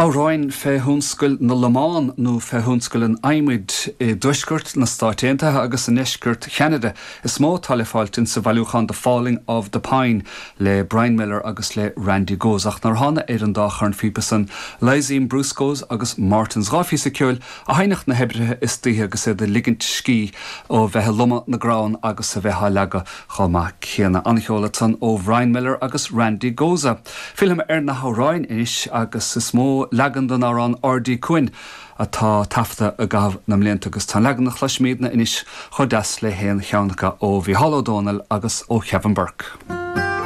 Amhráin fé thionscal na lomán nó fé thionscal an adhmaid i dtuaisceart na Stáit Aontaithe agus i ndeisceart Cheanada is mó atá le fáilt insa bhailiúchán The Falling of the Pine le Brian Miller agus le Randy Goes. Ach nuair a thána ar an dá chornphíopa san, Lyzeem Brusco's agus Martin's, 2 phíosa ceoil a sheinneadh na hoibrithe istoíche agus iad ag ligint scíth ó bheith ag lomadh na gcrann agus a bheith á leagadh chomh maith céanna. An-cheol ansan ó Bhrian Miller agus Randy Goza. Fillfidh mé ar na hamhráin anois agus is mó leagan den amhrán Ard Uí Cuain atá taifeadta i gcaitheamh na mblianta agus tá an leagan a chloisfimídne anois chomh deas le haon cheann acu ó Mhícheál Ó Domhnaill agus ó Kevin Burke.